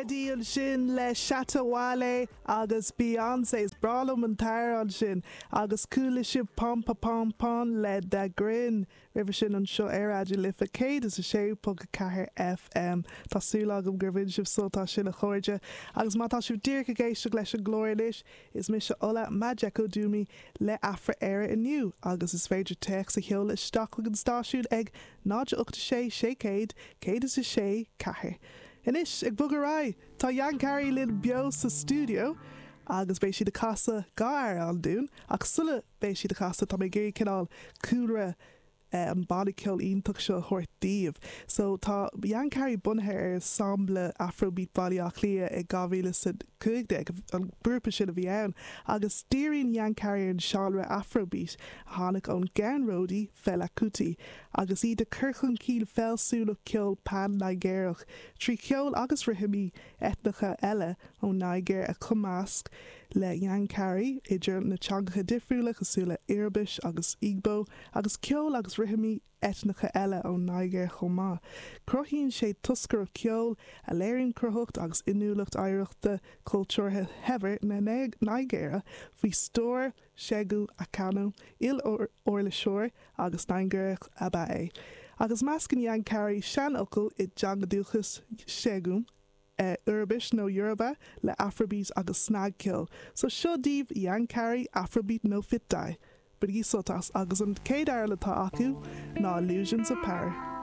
Meddy ansin le Shatta Wale agus Beyoncé. Is breá liom an t-amhrán sin. Agus chuala sibh Pom Pa Pom Pon le Dagrin roimhe sin anseo ar Raidió Life 106.4 FM. Tá súil agam gur bhain sibh sult as sin a chairde. Agus má tá sibh díreach ag éisteacht leis an gclár anois, is mise Ola Majekodunmi le Afra Éire inniu agus is féidir téacs a sheoladh isteach chuig an stáisiún ag 0 8 6 600 106 4. Anois, ag bogadh ar aghaidh, tá Yankari linn beo sa stiúideo agus beidh siad ag casadh dá amhrán dúinn ach sula mbeidh siad ag casadh tá mé ag iarraidh cineál cúlra an banna ceoil iontach seo a thabhairt daoibh. So tá Yankari bunaithe ar ensemble Afrobeat Bhaile Átha Cliath i 2015, an grúpa sin a bhí ann, agus díríonn Yankari ar an seánra Afrobeat a tháinig ón gceannródaí Fela Kuti agus iad ag cur chun cinn fealsúnacht ceoil pan-Nigéarach trí cheol agus rithimí eitneacha eile ón Nigéir a chumasc le Yankari, idir na teangacha difriúla cosúil le Iorubaise agus Igbo, agus ceol agus rithimí eitneacha eile ón Nigéir chomh maith. Cruthaíonn sé toscaireacht ceoil a léiríonn cruthaitheacht agus inniúlacht oidhreachta cultúrtha shaibhir na Nigéire faoi stiúir Segun Akanu, il-uirliseoir agus Nigéarach ab ea é. Agus meascann Yankari seanfhocail i dteanga dúchais Segun, Iorubaise nó Yoruba le Afrobeat agus snagcheol. So seo daoibh Yankari Afrobeat No Fit Die. Bainigí sult as agus an chéad amhrán atá acu ná Illusions of Power.